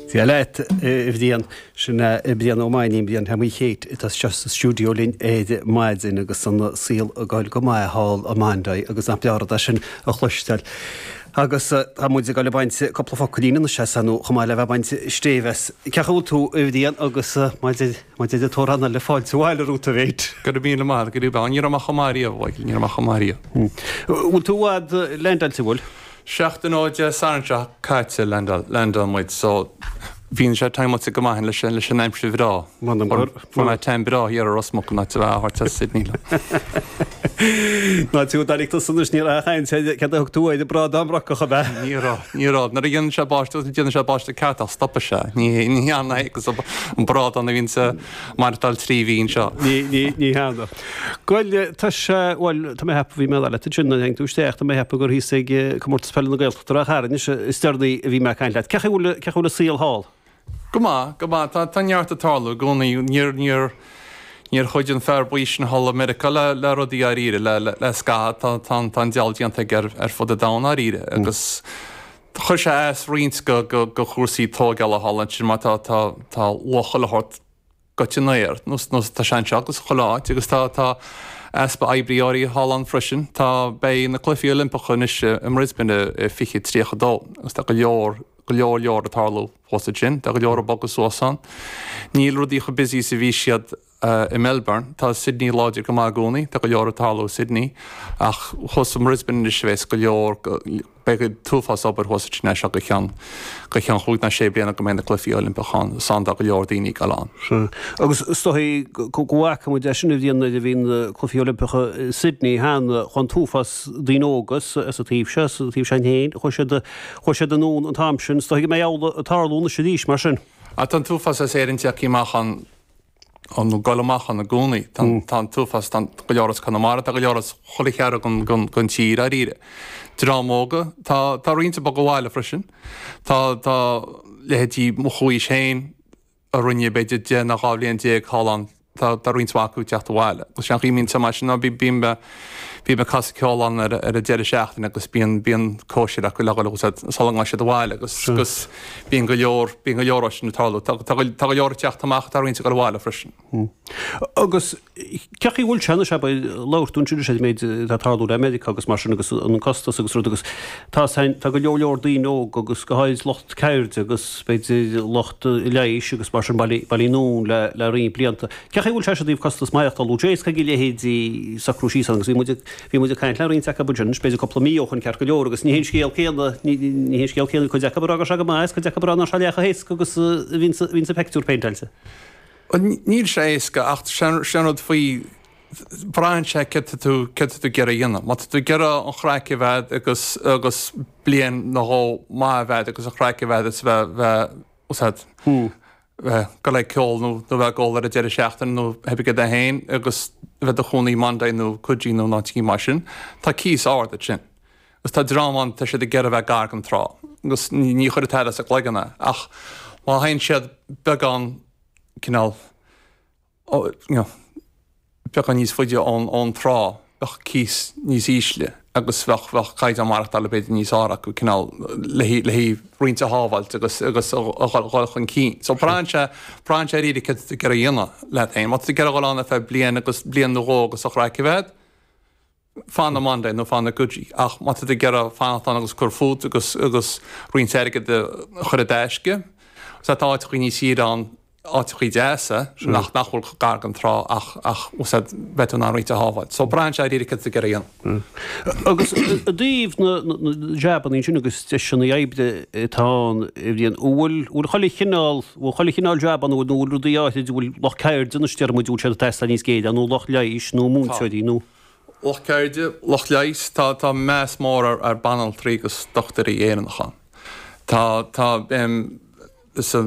Dia leat, a Bhriain. Sin é Brian Ó Mainnín, Brian Sheámaí Chéit, atá anseo sa stiúideo linn ar maidin agus an saol ag goil go maith thall i Bondi agus nach breá an rud é sin a chloisteáil. Agus tá muid ag goil ag baint cúpla focailín anois as nó chomh maith le bheith ag baint stéibh as. Cén chaoi a bhfuil tú, a Bhriain, agus mar a deir an t-amhrán eile, fáilte abhaile romhat, a mhéit. Go raibh míle maith agat, go raibh. Ní raibh mé chomh maith riamh, a Mhichael, ní raibh mé chomh maith riamh. Bhfuil tú i bhfad leaindeáilte, bhfuil? Seachtain ó Dé Sathairn seo caite leaindeáil muid so bhí sé timeáilte go maith leis an leis an aimsir bhreá. Fuair mé tan breá thiar i Ros Muc in áit a bheith á thabhairt as Sydney liom. Ná tú dáiríre tusa anois ní raibh aon chaint ar céard a thug tú air, brádán brocach ab ea? Ní raibh, ní raibh. Nuair a dhéanann sé báisteach, déanann sé báisteach ceart ach stopann sé. Ní ní hea agus an brádán a bhíonn ag maireachtáil 3 mhí anseo. Ní ní ní hea. Bhuel, tá sé, bhuel, tá mé ag ceapadh, bhí mé ag rá leat ansin nuair a tháinig tú isteach, tá mé ag ceapadh gur thíos ag Comórtas Peile na Gaeltachta Ráth Chairn anois is deireanaí a bhí mé ag caint leat. Cén chaoi a bhfuil, cén chaoi a bhfuil an saol thall? Go maith, go maith. Tá, tá neart ag tarlú i gcónaí. Níor, níor, níor chuidigh an fear buí sin thall i Meiriceá le, le rudaí dháiríre, le, le, le scaitheamh. Tá, tá, tá an diabhal déanta aige ar, ar fud an domhain dháiríre agus chuir sé as roinnt go, go, go chúrsaí tóigeála thall ansin mar tá, tá, tá luach chuile shórt goite in aer, nó tá sé anseo agus chuile áit agus tá tá easpa oibrí áirithe thall ann freisin. Tá, beidh na Cluichí Oilimpeacha anois i mBrisbane i 2032 agus tá go leor, go leor leor ag tarlú thuas ansin. Tá go leor ag bogadh suas ann. Níl rudaí chomh busy is a bhí siad i Melbourne. Tá Sydney láidir go maith i gcónaí, tá go leor ag tarlú i Sydney ach thuas i mBrisbane anois a bheas go leor, Beidh an t-uafás obair thuas ansin as seo go ceann go ceann chúig ná sé bliana go mbeidh na Cluichí Oilimpeacha ann. Is ann tá go leor daoine ag dul ann. Sea. Agus is dóigh go bhfaca muid é sin a bhliain nuair a bhí na Cluichí Oilimpeacha i Sydney cheana, chuaigh an t-uafás daoine óga as an taobh seo, as an taobh seo féin, chuaigh siad chuaigh siad anonn an t-am sin. Is dóigh go mbeidh amhlaidh ag tarlú anois arís mar sin. Ah tá an t-uafás as Éirinn tagtha amach ann ag dul amach ann i gcónaí. Tá an t-uafás, tá go leor as Conamara, tá go leor as chuile chearn den tír, dáiríre. Dream óga, tá tá roinnt ag bogadh abhaile freisin. Tá tá leithéidí mo chomhaois féin a rinne b'fhéidir 10 nó 12 bhliain thall ann, tá tá roinnt mhaith acu ag teacht abhaile. Agus sé an chaoi a mbíonn sé mar sin ná bím bím ag casadh ceoil ann ar ar an deireadh seachtaine agus bíonn bíonn cóisir acu le dhul sula ngabhann siad abhaile agus agus Bíonn go leor, bíonn go leor sin ag tarlú. Tá, tá, tá go leor ag teacht amach, tá roinnt ag dul abhaile freisin. Agus cén chaoi a bhfuil sé anois, abair, labhair tú ansin ar an méid atá ag tarlú le Meiriceá agus mar sin agus an costas agus rud agus tá tá go leor leor daoine óga agus go háirid lucht ceirde agus b'fhéidir lucht leighis agus mar sin bailithe anonn le le roinnt blianta. Cén chaoi a bhfuil sé i dtaobh costas maireachtála, bhfuil sé éasca ag a leithéidí socrú síos ann agus bhí muid ag Bhí muid ag caint le roinnt acu ansin, b'fhéidir cúpla mí ó shoin ceart go leor, agus ní hé an scéal céanna, ní hé an scéal céanna, cuid acu ag rá go raibh sé go maith is cuid acu ag rá nach raibh sé leath chomh héasca agus a bhíonn sa phictiúr péinteáilte. Bhuel, níl sé éasca ach sin an rud faoi, braitheann sé céard tá tú, céard tá tú ag iarraidh a dhéanamh. Má tá tú ag iarraidh an chraic a bheith agus, agus bliain nó dhó maith a bheith agus an chraic a bheith agus bheith, bheith, úsáid. bheith ag dul ag ceol nó nó bheith ag ól ar an deireadh seachtaine nó pé ar bith é féin agus bheith i do chónaí i Bondi nó Coogee nó in áit éigin mar sin. Tá cíos ard ansin. Agus tá dream ann, tá siad ag iarraidh bheith gar don trá agus ní ní chuirfidh tada as a gcloigeann é ach má théann siad beagán cineál you know, beagán níos faide ón, ón trá, bheadh cíos níos ísle agus bheadh, bheadh caighdeán maireachtála b'fhéidir níos fearr acu, cineál le haghaidh, le haghaidh roinnt a shábháilt agus, agus a dhul, dhul chun cinn. So braitheann sé, braitheann sé dáiríre céard tá tú ag iarraidh a dhéanamh leat féin. Má tá tú ag iarraidh dhul ann ar feadh bliain agus, bliain nó dhó agus an chraic a bheith agat, fan i mBondi nó fan i gCoogee. Ach má tá tú ag iarraidh fanacht ann agus cur fút agus agus roinnt airgid a chur i dtaisce, sea tá áiteachaí níos saoire ann, áiteachaí deasa nach nach bhfuil chomh gar don trá ach ach úsáid beidh tú in ann roinnt a shábháilt. So braitheann sé dáiríre céard tá tú ag iarraidh a dhéanamh. Agus i dtaobh na na jabannaí sin agus deiseanna oibre atá ann, a Bhriain, an bhfuil bhfuil chuile chineál, bhfuil chuile chineál jab ann nó bhfuil rudaí áithrid, bhfuil lucht ceirde anois déarfaidh muid, bhfuil siad ag teastáil níos géire nó lucht leighis nó múinteoirí nó. Lucht ceirde, lucht leighis, tá, tá meas mór ar, ar banaltraí agus dochtúirí Éireannacha ann. Tá, tá, em, sa.